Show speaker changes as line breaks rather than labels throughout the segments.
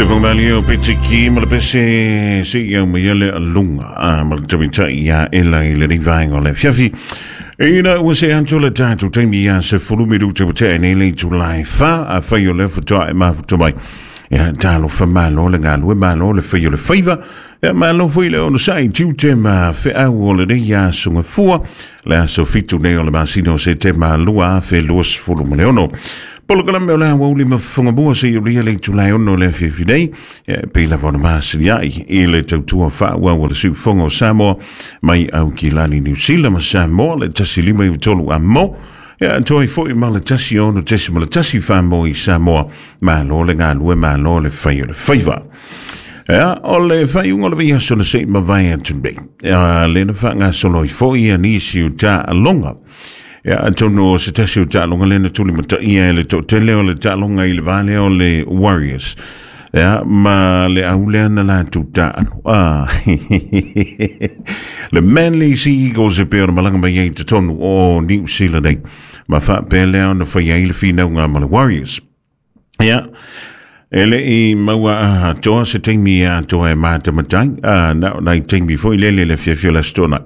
Se whangamali o Petiki ma le pese se i au mai ele alunga a ma le tamitai ia ela i le nei vaenga o le fiafi. Ina ua se atu le tātou taimi ia se fulu minuta ua tea nei le itulai wha a whai o le whatoa e mafuta mai. Ia talo wha malo le ngalue malo le whai o le whaiva. Ia malo foi le ono sai tiute ma wheau o le nei aso ngafua. Le aso 7 nei o le masina o Setema 2026. Polokalame o le aoauli ma fofoga se i ulia le itulai 6 le afiafi nei. Ia, e pei lava ona masiliai i le tautua faaauau a le siufofoga o Samoa mai Aukilani, Niu Sila ma Samoa le 153 a mo. Ia, atoa ai foi ma le 16.1 whaamo i Samoa. Malo le galue, malo le whai o le whaiva. Ia, o le faaiuga o le vaiaso na se i mavae atu nei. Ia, le na faagasolo ai foi ia nisi o taaloga. Ia, atonu o se tasi o taaloga lea na tulimataia e le toatele o le taaloga i le va lea o le Warriors. Ia, ma le au lea na latou taalo. Ah, le Manly Sea Eagles e pei ona malaga mai ai i totonu o Niu Sila nei. Ma faapea lea ona fai ai le finauga ma le Warriors. Ia, e le i maua atoa se taimi atoa e matamatai, a na o nai taimi foi lele le afiafi o le Aso Toonai.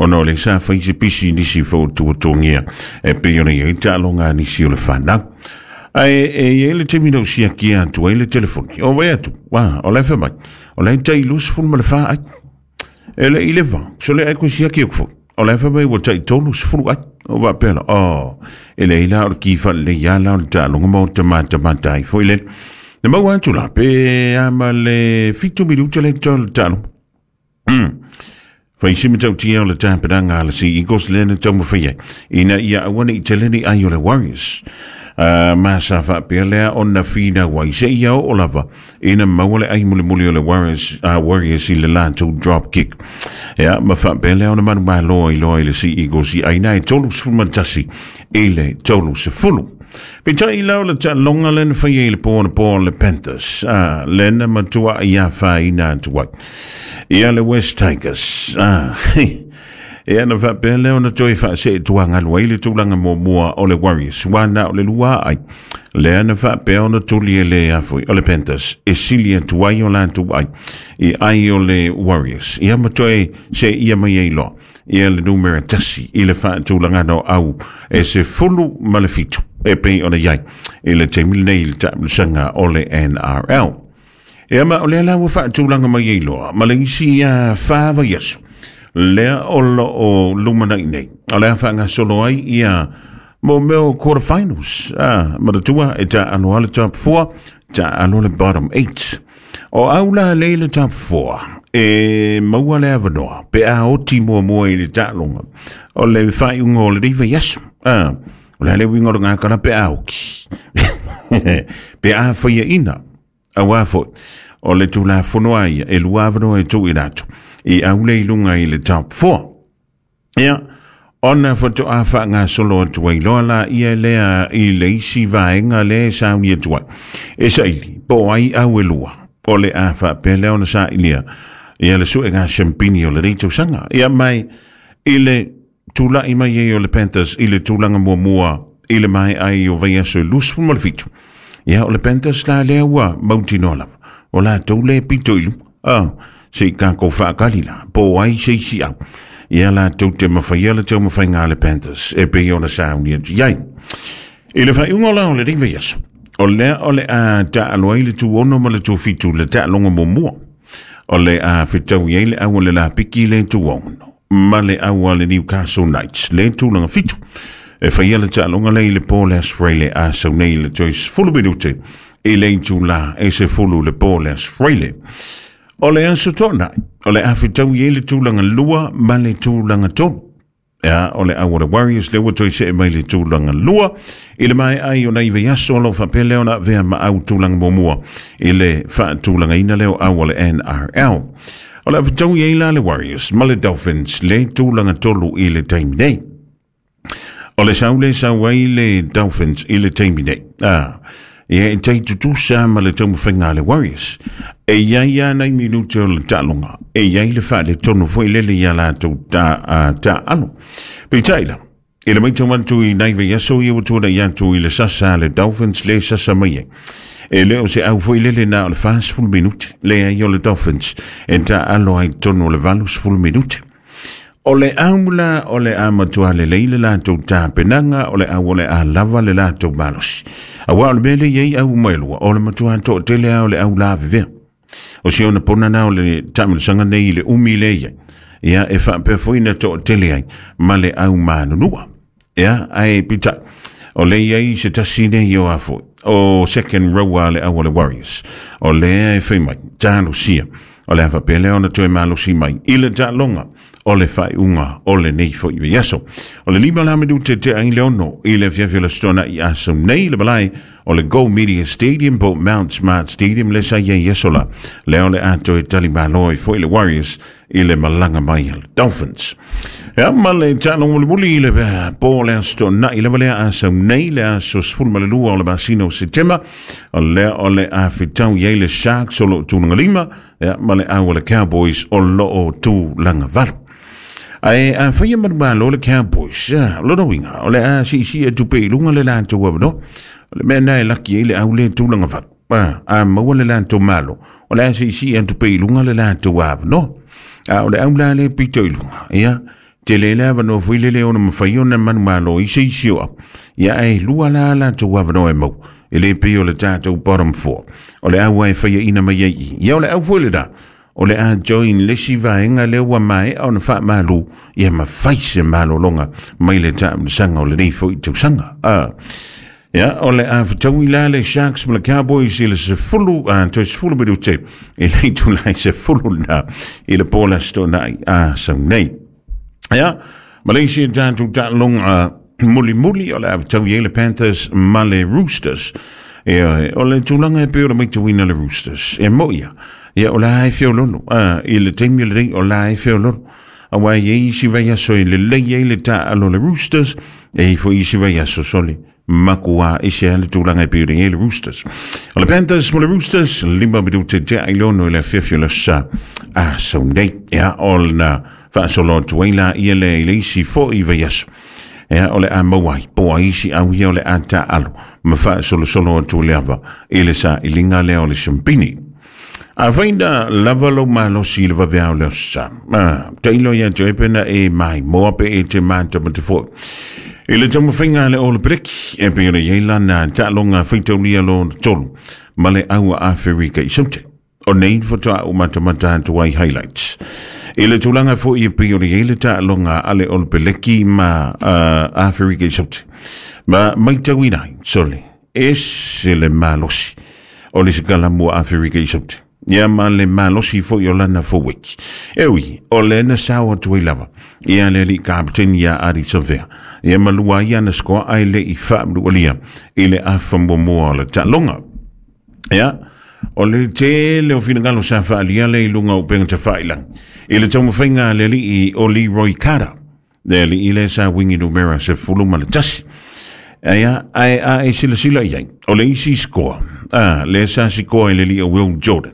Ona o le sa fai se pisi nisi foi o tuatuangia e pei ona i ai taaloga a nisi o le whanau. Ae e i ai le taimi na ou siakia atu ai le telefoni. O vai atu, a, o la e fai mai, o la e tai 24 ai. E le i leva, so le ai koe siaki aku foi. O la e fai mai ua tai 30 ai. O faapea la, oh, e leai la o le ki whalelei a la o le taaloga ma o te matamata ai foi le. Na maua atu la, pe a ma le 7 minuta le taaloga. Fai si matautia o le tapenaga a le Sea Eagles lea na taumafai ai ina ia aua ne i tele ni ai o le Warriors. Ma sa faapea lea ona finau ai se ia oo lava ina maua le ai mulimuli o le Warriors, Warriors i le latou drop kick. Ia, ma faapea lea ona manumalo ai loa i le Sea Eagles i aina e 31 i le 30. Peitai la o le taaloga lea na faia i le po anapo o le Panthers, lea na matuai afaina atu ai ia le West Tigers. Ia na faapea lea ona toe faaseetuagalu ai le tulaga muamua o le Warriors, ua na o le lua ai. Lea na faapea ona tuli e le afoi o le Panthers e sili atu ai o latou ai i ai o le Warriors. Ia ma toe se ia mai ai loa ia le numera 1 i le faatulagana o au e 17 e pei ona i ai i le taimi lenei i le taamilosaga o le NRL. Ia ma o lea la ua faatulaga mai ai loa ma le isi ia 4 vaiaso lea o lo o lumanai nei. O le a faagasolo ai ia mo mea o quarterfinals. Manatua e taalo le top 4, taalo le bottom 8. O au la lea i le top 4, e maua le avanoa pe a oti muamua i le taaloga o le faaiuga o lenei vaiaso. O le a le uiga o le gakala pe a oki. Pe a faiaina. Auā foi, o le Tulafono a ia, e lua avanoa e tuuina atu i au le i luga i le top 4. Ia, ona faatoa faagasolo atu ai loa la ia lea i le isi vaega lea e sauni atu ai. E saili, po o ai au e lua, o le a faapea lea ona sailia ia le suega siampini o lenei tausaga. Ia mai i le tulai mai ai o le Panthers i le tulaga muamua i le maea ai o vaiaso e 27. Ia, o le Panthers la lea ua mautinoa lava, o latou le pito i luga. Se i tatou faatali la, po o ai se isi au. Ia latou te mafaia le taumafaiga a le Panthers e pei ona sauni atu i ai. I le faaiuga o la o lenei vaiaso, o lea o le a taalo ai le tu 6 ma le tu 7 le taaloga muamua. O le a fetaui ai le au o le lapiki le tu 6 ma le au a le Newcastle Knights le tulaga 7. E faia le taaloga lea i le po le Aso Faraile a sau nei i le toe 10 minute i le itulā e 10 le po le Aso Faraile. O le Aso Toonai, o le a fetaui ai le tulaga 2 ma le tulaga 3. Ia, o le au o le Warriors lea ua toe see mai le tulaga 2 i le maea ai o nai vaiaso o lo o faapea lea ona avea ma au tulaga muamua i le faatulagaina lea o au o le NRL. O le a fetaui ai la le Warriors ma le Dolphins le tulaga 3 i le taimi nei. O le sau le sau ai le Dolphins i le taimi nei. Ia e tai tutusa ma le taumafaiga a le Warriors. E i ai lava nai minute o le taaloga, e i ai le faaletonu foi lele i a latou taalo. Peitai la, I le matau atu i nai vaiaso ia ua tuanai atu i le sasa a le Dolphins le sasa mai ai. E le o se au foi lele na o le 40 minute le ai o le Dolphins e taalo ai totonu o le 80 minute. O le au la o le a matua lelei le latou tapenaga, o le au o le a lava le latou malosi. Aua o le mea lea e i ai au uma e lua, o le matua toatele lava o le au lavevea. O si ona pona na o le taamilosaga nei i le umi lea i ai. Ia, e faapea foi na toatele ai ma le au manunua. Ia, ae peitai, o lea i ai se tasi nei o a foi, o second row a le au o le Warriors. O lea e fai mai, talosia, o le a faapea lea ona toe malosi mai i le taaloga o le faaiuga o lenei foi vaiaso. O le 5 la minute tea i le 6 i le afiafi o le Aso Toonai aso nei le malae o le Go Media Stadium po Mount Smart Stadium le sa i ai aso la. Lea o le a toe talimalo ai foi le Warriors i le malaga mai a le Dolphins. Ia, ma le taaloga mulimuli i le po o le Aso Toonai lava lea aso nei, le aso 12 o le masina o Setema, o lea o le a fetau i ai le Sharks o lo o tulaga lima, ia, ma le au a le Cowboys o lo o tulaga valu. Ae a faia manumalo le Cowboys, ia, o lona uiga, o le a siisii atu pea i luga le latou avanoa. O le mea lena e laki ai le au le tulaga valu. A maua le latou malo, o le a siisii atu pea i luga le latou avanoa. A o le au la le pito i luga, ia, tele le avanoa foi lele ona mafai ona manumalo i se isi o au. Ia, ae lua la latou avanoa e maua, e le pei o le tatou bottom four. O le au e faiaina mai ai i. Ia, o le au foi lena, o le a join le isi vaega lea ua maea ona faamalu, ia ma fai se malologa mai le taamilosaga o lenei foi tausaga. Ia, o le a fetaui la le Sharks ma le Cowboys i le 10, toe 10 minute i le itula e 10 lena i le po o le Aso Toonai a sau nei. Ia, ma le isi tatou taaloga mulimuli o le a fetaui ai le Panthers ma le Roosters. Ia, o le tulaga e pei o le matauina le Roosters, e moi ia, ia o la e feololo, i le taimi lenei o la e feololo. Aua e i ai isi vaiaso e lelei ai le taalo le Roosters, e i ai foi isi vaiaso sole makuā ese lava le tulaga e pei ona i ai le Roosters. O le Panthers ma le Roosters, 5 minute tea i le 6 i le afiafi o le aso Sa aso nei. Ia, o lena faasolo atu ai la ia lea i le isi foi vaiaso. Ia, o le a maua ai, po o ai isi au ia o le a taalo ma faasolosolo atu le ava i le sailiga lea o le siampini. Afai na lava lou malosi i le vaveao o le Aso Sa, tailo ia te oe pe na e maimoa pe e te matamata foi. I le taumafaiga a le All Blacks, e pei ona i ai lana taaloga faitaulia lona tolu ma le au a Aferika i Saute. O nei faatoa ou matamata atu ai highlights. I le tulaga foi e pei ona i ai le taaloga a le All Blacks ma Aferika i Saute. Ma maitauina ai, sole, ese le malosi o le sikalamu a Aferika i Saute. Ia ma le malosi foi o lana forward. E ui, o le na sao atu ai lava. Ia le alii kapeteni ia Ardie Savea. Ia ma lua ai ana scoa ae le i faamalualia i le afa muamua o le taaloga. Ia, o le tele o finagalo sa faaalia lea i luga o upega tafailagi. I le taumafaiga a le alii o Leroy Carter. Le alii lea sa wingi numera 11. Aia, ae a e silasila i ai, o le isi scoa, lea sa sikoa i le alii o Will Jordan.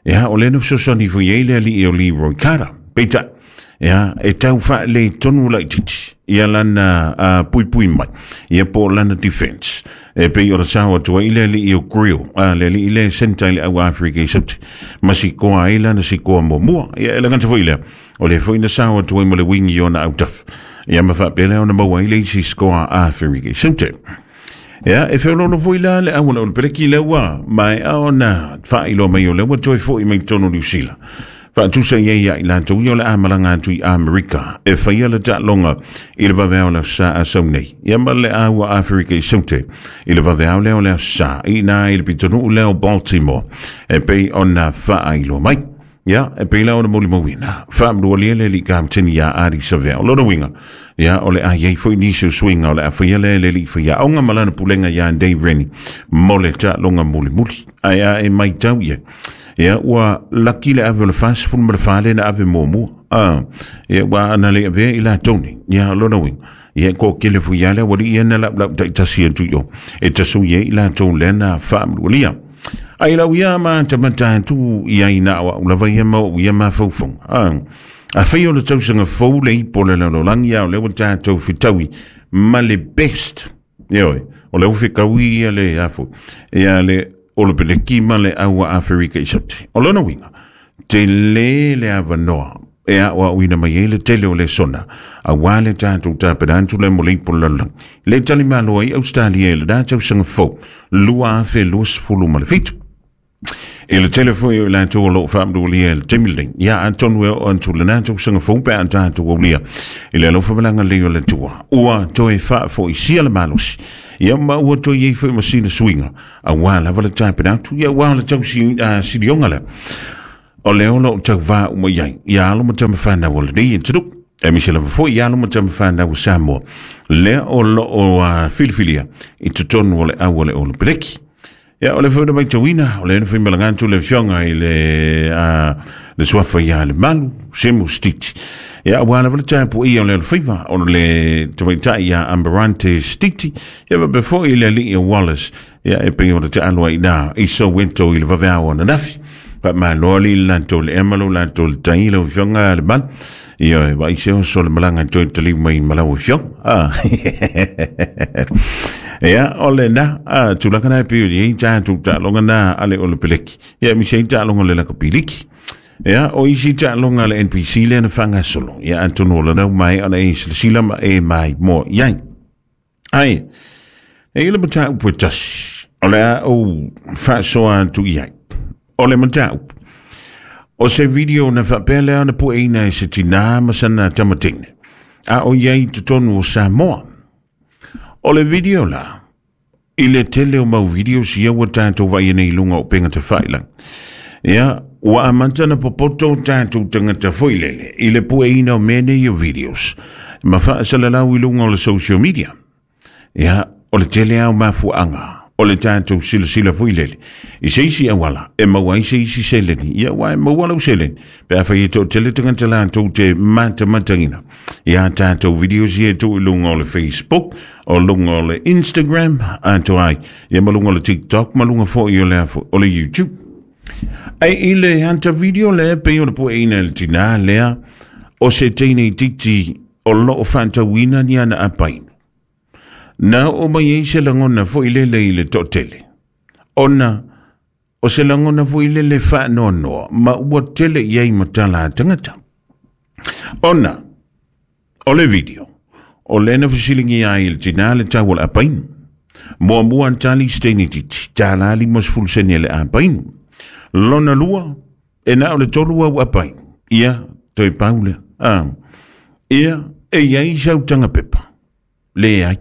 Ia, o lea na fesoasoani foi ai le alii o Leroy Carter. Peitai, ia, e tau faaletonu laitiiti ia lana puipui mai, ia po o lana defense. E pei o le sao atu ai le alii o Grill, le alii lea e centre i le au Afrika i Saute. Ma sikoa ai lana sikoa muamua. Ia, e le gata foi lea, O lea foi na sao atu ai ma le wing i ona autafa. Ia ma faapea lea ona maua ai le isi scoa a Aferika i Saute. Ia, e feoloolo foi la le auala o le peleki lea ua maea ona faailoa mai o lea ua toe foi mai totonu o Niu Sila. Faatusa i ai ia i latou ia o le a malaga atu i Amerika e faia le taaloga i le vaveao o le Aso Sa a sau nei. Ia ma le a ua Aferika i Saute i le vaveao lea o le Aso Sa i ina i le pitonuu lea o Baltimore e pei ona faailoa mai. Ia, e pei la ona molimauina, faamalualia le alii kapeteni ia Ardie Savea. O lona uiga, ia, o le a i ai foi nisi o suiga o le a faia lea e le alii faiaoga ma lana pulega ia Dave Rennie mo le taaloga mulimuli. Ae a e matau i ai, ia, ua laki le ave o le 44 lea na ave muamua. Ia, ua ana le avea i latou nei. Ia, o lona uiga, ia, e toatele foi lava le aualii ia na laulau taitasi atu i o, e tasui ai i latou lea na faamalualia. Ai lau ia matamata atu i ai na o au lava ia ma ou ia mafaufauga. Afai o le tausaga fou le ipo o le lalolagi a o lea ua tatou fetaui ma le best. Ioe, o le ufe kaui ia le afu, ia le Olopeleki ma le aua Aferika i Saute. O lona uiga, tele le avanoa e aoaoina mai ai le tele o lesona, auā le tatou tapena atu lea mo le ipu o le lalolagi. Le talimalo ai Ausetalia i lena tausaga fou 2027. I le tele foi o i latou o lo o faamanualia i le taimi lenei, ia atonu e oo atu lena tausaga fou pe a tatou aulia i le alofa ma le agalelei o le Atua, ua toe faafoisia le malosi, ia ma ua toe i ai foi ma sina suiga, auā lava le tapena atu, ia aua o le tau silioga lea o lea o lo o tauvā uma i ai ia alo ma tama fanau o lenei atunuu, aemaise lava foi ia alo ma tama fanau o Samoa lea o lo o filifilia i totonu o le au a le Olopeleki. Ia, o le foi na matauina, o lea na faimalaga atu le afioga i le, le suafa ia le Malu, Semu Stiti. Ia, aua lava le tapuaia o le alofaiva o le tamaitai ia Amarante Stiti, ia faapea foi le alii o Wallace, ia e pei ona taalo ai i i Soweto i le vaveao ananafi. Faamalo alii le latou le ea ma lo latou le tai lau afioga le Malu. Ia, e vaai se oso le malaga toe taliu mai ma lau afioga. Ah. Ia, o le na, tulaga na e pei o i tatou taaloga na a le Olopeleki. Ia, aemaise ai taaloga le lakapiliki. Ia, o isi taaloga a le NPC lea na faagasolo. Ia, atonu o lana mai ona e silasila ma e mai mo iai. Ai, e i le mataupu e tasi, o le a ou faasoa atu i ai. O le mataupu, o se video na faapea lea ona pueina e se tinā ma sana tamateine, a o i ai i totonu o Samoa. O le video la, i le tele o mau videos ia ua tatou vaaia nei i luga o upega tafailagi. Ia, ua amata ona popoto tatou tagata foi lele i le pueina o mea nei o videos ma faasalalau i luga o le social media. Ia, o le tele lava o mafuaaga o le tatou silasila foi lele i se isi auala e maua ai se isi seleni. Ia, aua e maua lau seleni pe afai e toatele tagata latou te matamataina ia tatou videos ia e tuu i luga o le Facebook, o luga o le Instagram, atoa ai, ia ma luga o le TikTok, ma luga foi o le, o le YouTube. Ai i le ata video lea pei ona pueina e le tinā lea o se teine itiiti o lo o faatauina ni ana apainu. Na oo mai ai se lagona foi lele i le toatele, ona o se lagona foi lele faanoanoa ma ua tele i ai ma tala a tagata. Ona o le video, o lea na fesiligia ai e le tinā le tau o le apainu. Muamua na tali se teine itiiti, $1.50 sene le apainu. Lona lua, e na o le tolu au apainu. Ia, toe pau lea. Ah. Ia, e i ai sau taga pepa. Leai.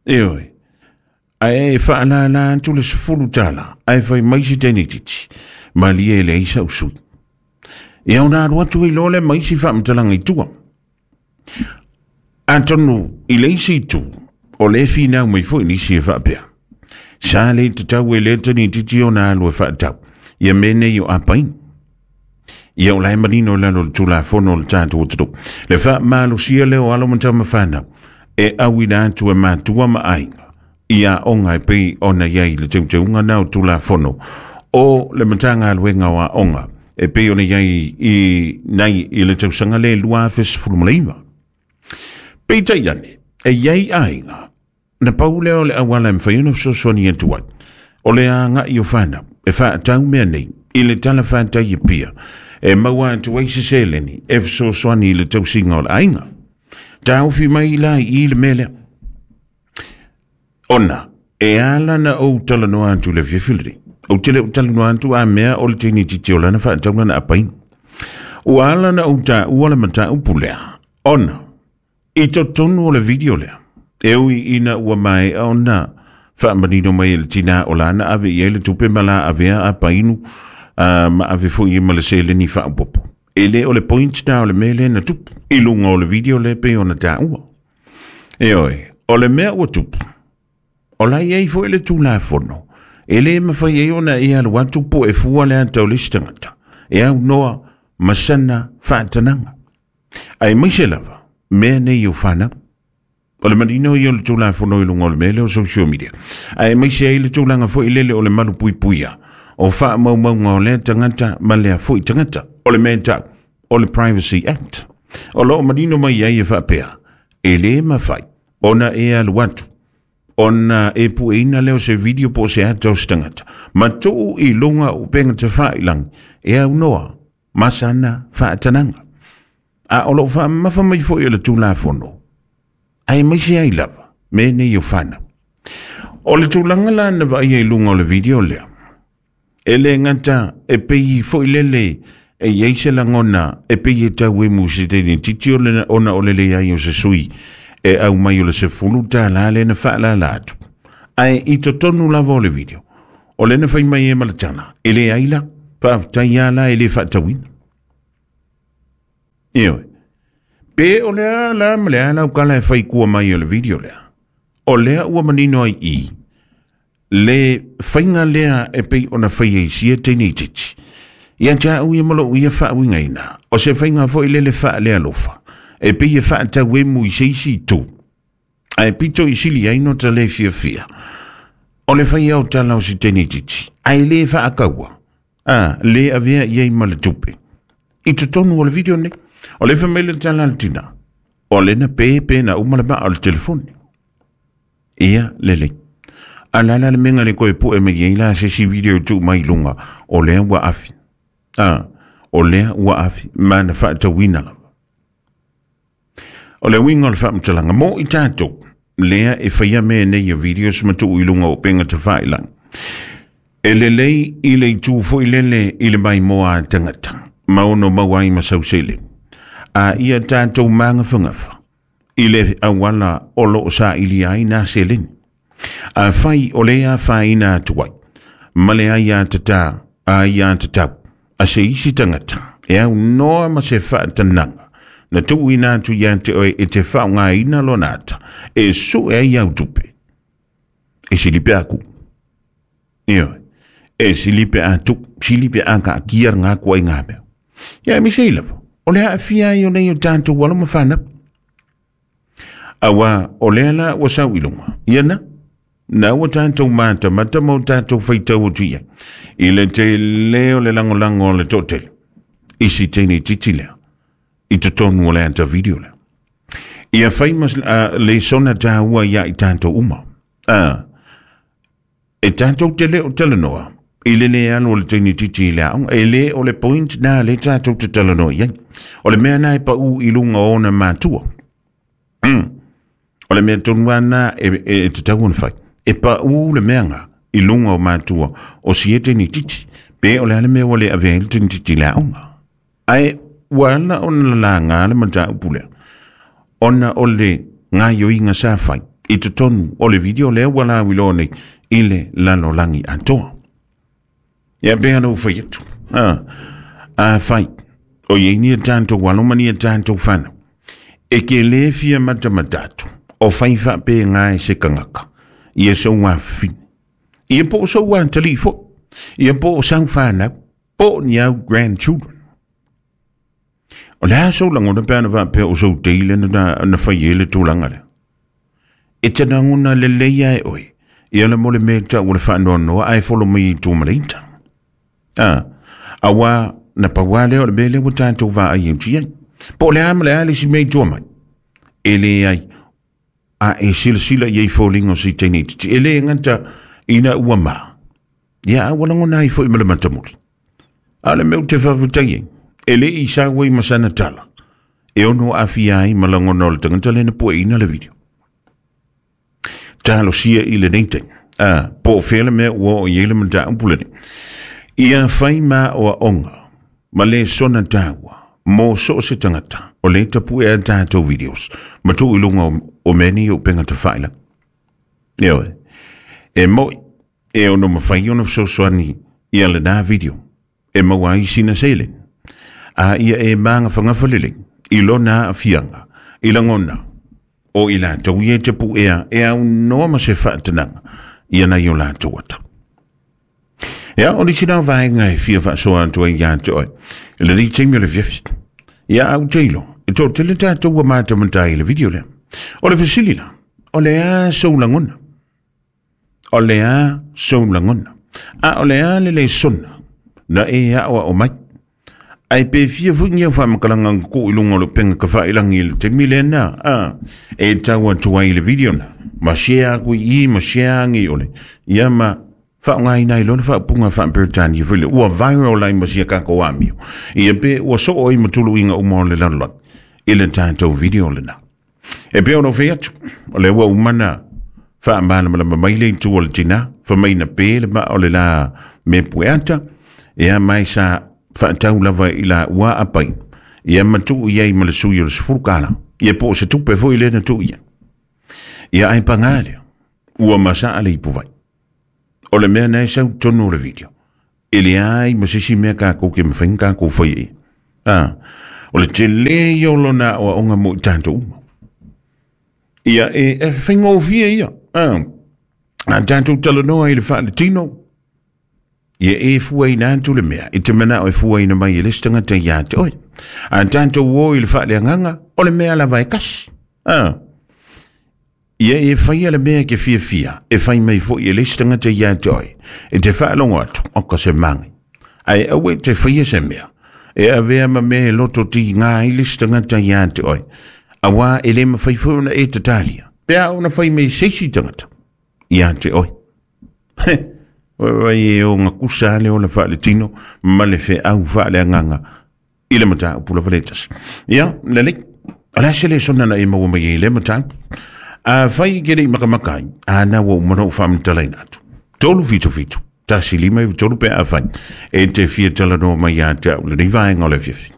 Ioe. Ae e faalala atu le $10, ae fai mai se teine itiiti, malie e leai sau sui. Ia ona alu atu ai loa lea ma isi faamatalaga i tua. Atonu i le isi itu, o lea e finau mai foi nisi e faapea, sa le tatau e lea teine itiiti ona alu e faatau ia mea nei o apaina. Ia o la e manino i lalo o le Tulafono o le tatou atunuu, le faamalosia lea o alo ma tama fanau e auina atu e matua ma aiga i aoga e pei ona i ai le teuteuga na o Tulafono o le Matagaluega o Aoga e pei ona i ai i nei i le tausaga lea 2019. Peitai ane, e i ai aiga na pau lea o le auala e mafai ona fesoasoani atu ai, o le agai o fanau e faatau mea nei i le tala fatai e pia e maua atu ai se seleni e fesoasoani i le tausiga o le aiga. Taofi mai la i le mea lea. Ona, e ala na ou talanoa atu i le afiafi lenei. Ou te le o talanoa atu a mea o le teine itiiti o lana faatau lana apaina. Ua ala na ou taua le mataupu lea, ona, i totonu o le video lea, e ui ina ua maea ona faamanino mai e le tinā o lana ave i ai le tupe ma la avea apainu, ma ave foi i ai ma le seleni faaopoopo. E le o le point na o le mea lea na tupu i luga o le video lea pei ona taua. Ioe, o le mea ua tupu, o la e i ai foi le Tulafono, e le mafai ai ona e alu atu po e fua le ata o le isi tagata, e aunoa ma sana faatanaga. Aemaise lava, mea nei o fanau. O le manino ia o le Tulafono i luga o le mea lea o social media. Aemaise ai le tulaga foi lele o le malupuipuia o faamaumauga o lea tagata ma lea foi tagata. O le mea e tau, o le Privacy Act. O lo o manino mai ai e faapea, e le mafai Ona e alu atu, ona e pueina lea o se video po o se ata o se tagata, ma tuu i luga o upega tafailagi e aunoa ma sana faatanaga. A o loo faamamafa mai foi e le Tulafono, aemaise ai lava mea nei o fanau. O le tulaga la na vaaia i luga o le video lea, e le gata e pei foi lele e i ai se lagona e pei e tau emu se teine titi o le, ona o le leai o se sui e aumai o le $10 lea na faalala atu. Ae i totonu lava o le video, o lea na fai mai e ma le tala, e leai la, faafetai lava la e le faatauina. Ioe. Pe o le a la ma le a lau kala e fai kua mai o le video lea. O lea ua manino ai i le faiga lea e pei ona fai ai sia teine titi. Ia te au ia ma lou ia faauigaina, o se faiga foi lele faalealofa, e pei e faatau emu i se isi itu, ae pito i sili ai no ta le fiafia. O le fai au tala o se teine titi, ae le faakaua, a le avea i ai ma le tupe. I totonu o le video nei, o le fai mai le tala a le tina, o le na pe pe na uma le maa o le telefoni. Ia, lelei. A la la le mea le koe pue mai ai la se si video tuu mai lunga, o lea ua afi. A, o lea ua afi, ma na faatauina lava. O le uiga o le faamatalaga mo i tatou, lea e faia mea nei o videos ma tuu i luga o upega tafailagi. E lelei i le itu foi lele i le maimoa a tagata, ma ono maua ai ma sau seleni. A ia tatou magafagafa i le auala o loo sailia ai nā seleni. A fai o le afaina atu ai, ma le aiatatā a aiatatau a se isi tagata, e aunoa ma se faatanaga, na tuuina atu ia te oe e te faaaogaina lona ata, e sue ai au tupe. E sili pe aku. Ioe. E sili pe a tu, sili pe a kaatia ngā kua i ngā mea. Ia e mise i lava, o le aafia ai o nei o tātou alo ma whanau. Auā o lea la ua sau i luga, ia na, na ua tātou matamata ma o tātou faitau atu i ai, i le tele o le lagolago a le toatele, i si teine titi lea, i totonu o le ata video lea. Ia fai ma lesona tāua ia i tātou uma. E tātou te le o talanoa, i le le alu o le teine titi i le aoga, e le o le point nā le tātou te talanoa i ai. O le mea nā e pau i lunga o ona mātua. O le mea tonu ana e te tau ona whai. E pau le mea ngā i lunga o mātua o si e teine titi. Pe o le ale mea ua le avea i le teine titi i le aoga. Ae ua ala ona lalagā le mataupu lea, ona o le gaoioiga sa fai i totonu o le video lea ua lauiloa nei i le lalolagi atoa. Ia pei ona ou fai atu, afai o i ai ni a tatou alo ma ni a tatou fanau, e ke lē fia matamata atu, o fai faapega e se tagata, ia sou afafine, ia po o sou atalii foi, ia po o sau fanau, po o ni au grandchildren. O le a sou lagona pe ana faapea o sou tei lea na fai ai le tulaga lea? E te lagona lelei lava e oe, ia le mo le mea e tau o le faanoanoa ae folo mai i tua ma le ita. Auā na pau lava lea o le mea lea ua tatou vaai atu i ai. Po o le a ma le a le isi mea i tua mai, e leai, a e silasila i ai foliga o si teine itiiti, e le gata ina ua ma, ia a ua lagona ai foi ma le matamuli. A o le mea ou te faafetai ai, e le i sau ai ma sana tala, e ono aafia ai ma lagona o le tagata lea na pueina le video. Talosia i lenei taimi, po o fea le mea ua oo i ai le mataupu lenei. Ia fai ma aoaoga ma lesona taua mo so o se tagata o lea e tapue a tatou videos ma tuu i luga o mea nei o upega tafailagi. Ioe, e moi e ono mafai ona fesoasoani ia lena video e maua ai sina seleni, a ia e magafagafa lelei i lona aafiaga i lagona o i latou ia e tapuea e aunoa ma se faatanaga ia nai o latou ata. Ia, o nisi na vaega e fia faasoa atu ai ia te oe, i lenei taimi o le afiafi. Ia, a ou te iloa, e toatele tatou ua matamata ai i le video lea. O le fesili la, o le a sou lagona? O le a sou lagona? A o le a le lesona na e aoao mai? Ae pe fia foi ni au faamatalaga na tuu i luga o le upega tafailagi i le taimi lena, a, e tau atu ai i le video na, ma share aku i i ma share agi i ole, ia ma faaaogaina ai loa le faaupuga faa-Peretania foi lea, ua viral ai ma sia tatou amio, ia pe ua soo ai ma tuluiga uma o le lalolagi i le tatou video lena. E pei ona ou fai atu, o lea ua uma na faamalamalama mai le itu o le tina, fai mai na pe le maa o le la me pueata, ia mai sa faatau lava i la ua apai, ia ma tuu i ai ma le sui o le 10 tala, ia po o se tupe foi lea na tuu i ai. Ia ai pagā lea, ua masaa le ipuvai. O le mea na e sau tonu o le video, e leai ma se isi mea tatou te mafai ona tatou faia i ai. A, o le tele ia o lona aoaoga mo i tatou uma. Ia, e, e faigofie ia. A, a tatou talanoa i le faaletino, ia e fuaina atu le mea, i te manao e fuaina mai e le isi tagata ia te oe. A tatou o i le faaleagaga, o le mea lava e kasi. A, Ia e faia le mea e te fiafia, e fai mai foi e le isi tagata ia te oe, e te faalogo atu, oka se magi. Ae aua e te faia se mea, e avea ma mea e loto tiga ai le isi tagata ia te oe, auā e le mafai foi ona e tatalia, pe a ona fai mai se isi tagata ia te oe. He, vai e ogakusa le ola faaletino ma le feau faaleagaga i le mataupu lava le tasi. Ia, lelei, o le a se lesona na e maua mai ai i lea mataupu? A fai ke lei makamaka ai, a na ua uma na ou faamatalaina atu. 377, 1 5 9 3 pe a fai. E te fia talanoa mai ia te au lenei vaega o le afiafi.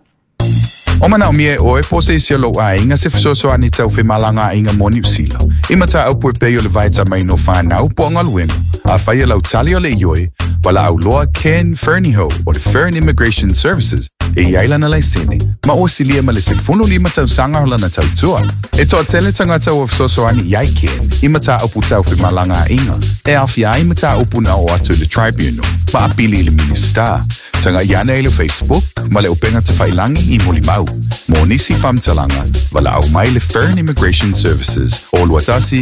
O manaomia e oe po o se isi o lou aiga se fesoasoani tau femalagaaiga mo Niu Sila i mataupu e pei o le vaitamaina o fanau po o galuega. Afai o lau tali o le ioe, valaau loa Ken Fernihough o le Fern Immigration Services e i ai lana laisene ma ua silia ma le 15 tausaga o lana tautua. E toatele tagata ua fesoasoani i ai Ken i mataupu tau femalagaaiga e aofia ai mataupu na oo atu i le Tribunal ma apili i le Minisita. Tagai ane i le Facebook ma le upega tafailagi i Molimau. Mo nisi faamatalaga, valaau mai le Fern Immigration Services o 21.